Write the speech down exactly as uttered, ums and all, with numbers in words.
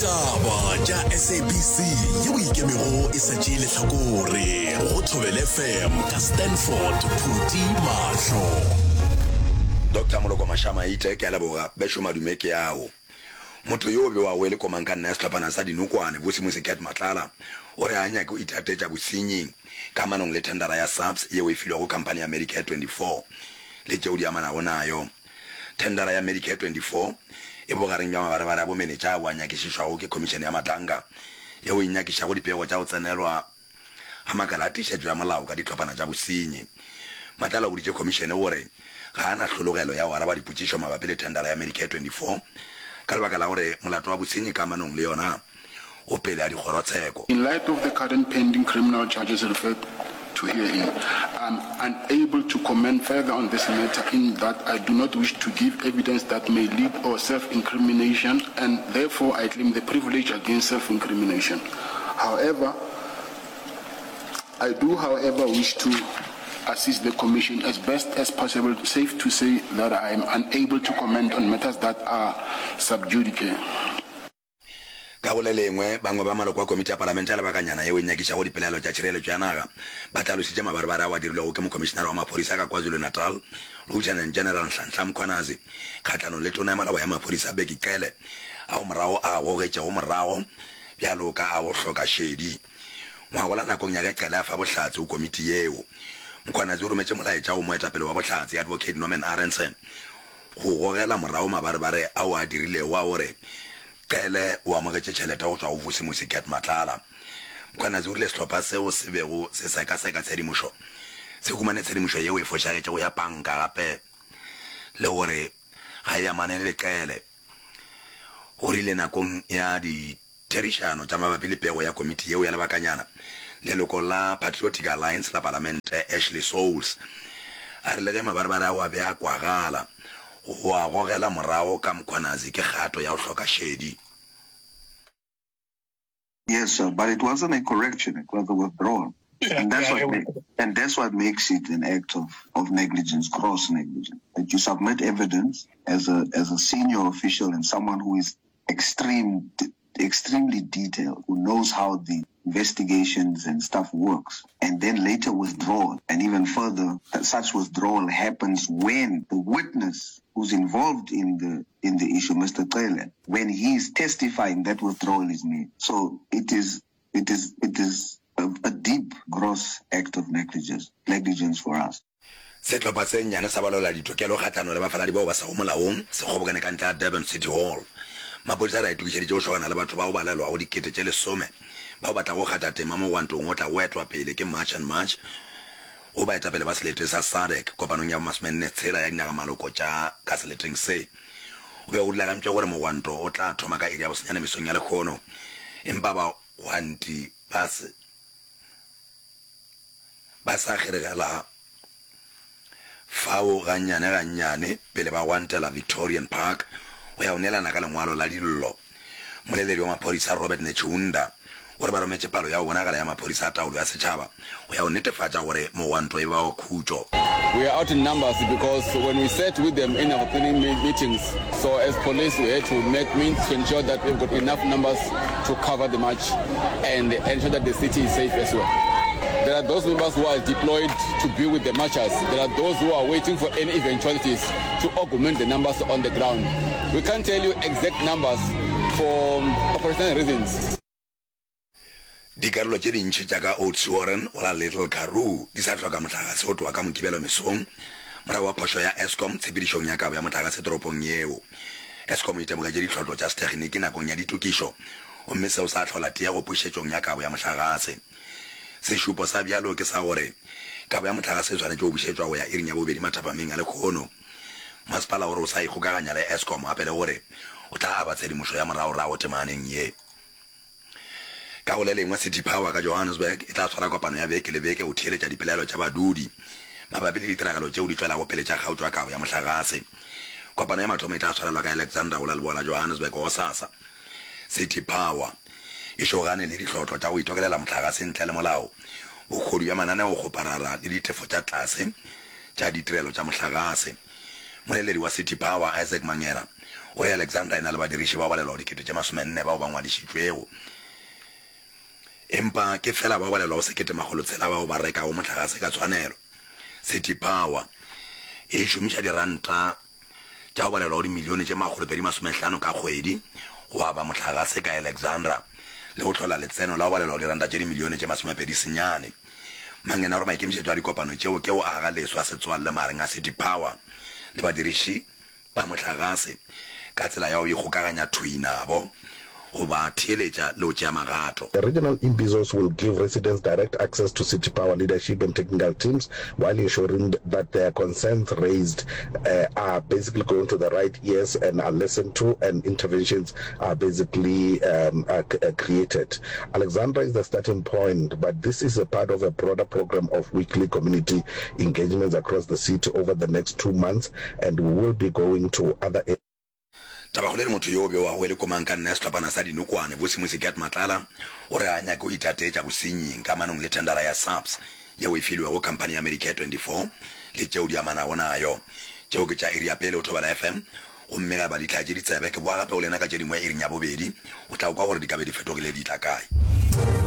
Ditaba tša S A B C yeo ikemego e sa tšee lehlakore go Thobela F M ka Stanford Phuti Mahlo. Doctor Moloko Mashamaite, ke a leboga. Bešo madume ke ao. Motho yo bewago e le komangkanna ya sehlophana sa Dinokwane, Vusimusi Cat Matlala, o re ga a nyake go ithatetša bosenying kamanong le thendara ya SAPS yeo e filwego khamphani ya Medicare twenty-four le tšeo di amanago nayo. Thendara ya Medicare twenty-four e bogareng bja mabarebare a bomenetša ao a nyakišišwago ke Khomišene ya Madlanga yeo e nyakišago dipego tša go tsenelwa ga makala a tiišetšo ya molao ka dihlophana tša bosenyi. Matlala o boditše khomišene gore ga a na hlologelo ya go araba dipotšišo mabapi le thendara ya Medicare twenty-four ka lebaka la gore molato wa bosenyi kamanong le yona o pele a dikgorotsheko. In light of the current pending criminal charges referred to herein, I am unable to comment further on this matter in that I do not wish to give evidence that may lead or self-incrimination and therefore I claim the privilege against self-incrimination. However, I do however wish to assist the Commission as best as possible, safe to say that I am unable to comment on matters that are sub judice. Ka go le lengwe, bangwe ba maloko a komiti ya palamente ya lebakanyana yeo e nyakišago dipelaelo tša tšhireletšo ya naga ba hlalositše mabarebare ao a dirilwego ke Mokhomišenare wa Maphodisa ka KwaZulu-Natal, Lieutenant General Nhlanhla Mkhwanazi, kgahlanong le Tona ya Malabo ya Maphodisa Bheki Cele, ao morago a a gogetšego morago bjalo ka a go hloka šedi. Ngwagola nakong ya ge Cele a fa bohlatse go komiti yeo, Mkhwanazi o rometše molaetša go moetapele wa bohlatse, Advocate Norman Arendse, go gogela morago mabarebare ao a dirilego a gore Cele o amogetše tšhelete go tšwa go Vusimusi Cat Matlala. Mkhwanazi o rile sehlopha seo se bego se sekaseka tshedimošo se humane tshedimošo yeo e fošagetšego ya panka gape le gore ga e amane le Cele. O rile nakong ya ditherišano tša mabapi le pego ya komiti yeo ya lebakanyana, leloko la Patriotic Alliance la palamente Ashley Soules a re le ge mabarebare ao a be a kwagala, go a gogela morago ka Mkhwanazi ke kgato ya go hloka šedi. Yes, sir, but it wasn't a correction, it was a withdrawal. Yeah, And that's yeah, what it ma- was. and that's what makes it an act of, of negligence, gross negligence. That you submit evidence as a as a senior official and someone who is extreme extremely detailed, who knows how the investigations and stuff works, and then later withdraw. And even further, that such withdrawal happens when the witness who's involved in the in the issue, Mister Cele, when he is testifying, that withdrawal is made. So it is it is it is a, a deep, gross act of negligence negligence for us. Sehlopha se nnyane sa balwela ditokelo kgahlano le bafaladi bao ba sego molaong se kgobokane ka ntle ga Durban City Hall. Maphodisa a re a itokišeditše go šogana le batho bao ba balelwago dikete tše lesome bao ba tlago kgatha tema mogwantong o tlago etwa pele ke March and March go baetapele ba selete sa SADC kopanong ya bomasomenne tshela ya dinagamaloko tša ka seleteng se. Go be go rulagantšwe gore mogwanto o tla thoma ka iri ya bosenyane mesong ya lehono empa bagwanti ba se ba sa kgeregela fao gannyane-gannyane pele ba gwantela Victorian Park go ya go neelana ka lengwalo la dillo. Mmoleledi wa maphodisa Robert Netshiunda o re ba rometše palo ya go bonagala ya maphodisa a taolo ya setšhaba go ya go netefatša gore mogwanto e ba wa khutšo. We are out in numbers because when we sat with them in our planning meetings, so as police we had to make means to ensure that we've got enough numbers to cover the march and ensure that the city is safe as well. There are those members who are deployed to be with the marchers. There are those who are waiting for any eventualities to augment the numbers on the ground. We can't tell you exact numbers for operational reasons. Dikarolo tše dintši tša ka Oudtshoorn go la Little Karoo di sa hloka mohlagase go tloga ka Mokibelo mesong morago ga phošo ya Eskom tshepedišong ya kabo ya mohlagase toropong yeo. Eskom e itemogetše ditlhotlo tša sethekgniki nakong ya ditokišo gomme seo sa hlola tiego pušetšong ya kabo ya mohlagase. Sešupo sa bjalo ke sa gore kabo ya mohlagase e swanetše go bušetšwa go ya iring ya bobedi mathapameng a lehono. Masepala o re o sa ikgokaganya le Eskom gape le gore o tla aba tshedimošo ya moragorago temaneng ye. Ka go le lengwe, City Power ka Johannesburg e tla swara kopano ya beke le beke go theeletša dipelaelo tša badudi mabapi le ditiragalo tšeo di tšwelago pele tša kgaotšo ya kabo ya mohlagase. Kopano ya mathomo e tla swarelwa ka Alexandra go la leboa la Johannesburg gosasa. City Power e šogane le dihlotlo tša go itokelela mohlagase ntle le molao, bohodu bja mananeokgoparara le ditefo tša tlase tša ditirelo tša mohlagase. Mmoleledi wa City Power, Isaac Mangera, O re Alexandra e na le badiriši ba balelwago dikete tše masomenne bao ba ngwadišitšwego, empa ke fela ba balelwago sekete makgolo tshela bao ba rekago mohlagase ka tshwanelo. City Power e šomiša diranta tša go balelwago dimilione tše makgolo pedi masomehlano ka kgwedi go aba mohlagase ka Alexandra le go hlola letseno la go balelwago diranta tše dimilione tše masomepedi senyane. Mangena o re maikemišetšo a dikopano tšeo ke go aga leswa setswalle magareng a City Power le badiriši ba mohlagase ka tsela ya go ikgokaganya thwii nabo, go ba theeletša le go tšea magato. The regional imbizos will give residents direct access to City Power leadership and technical teams while ensuring that their concerns raised are basically going to the right ears and are listened to and interventions are basically um, are created. Alexandra is the starting point, but this is a part of a broader program of weekly community engagements across the city over the next two months and we will be going to other Tabakgolo e re motho yo o bewago e le komangkanna ya sehlophana sa dinokwane, Vusimusi Cat Matlala, o re ga a nyake go itatetša bosenying kamanong le thendara ya SAPS yeo e filwego khamphani ya Medicare twenty four le tšeo di amanago nayo. Tšeo ke tša iri ya pele go Thobela F M, gomme ge ba di hlatše ditsebe, ke boa gape go lena ka tše dingwe iring ya bobedi, o tla kwa gore di ka be di fetogile di tla kae.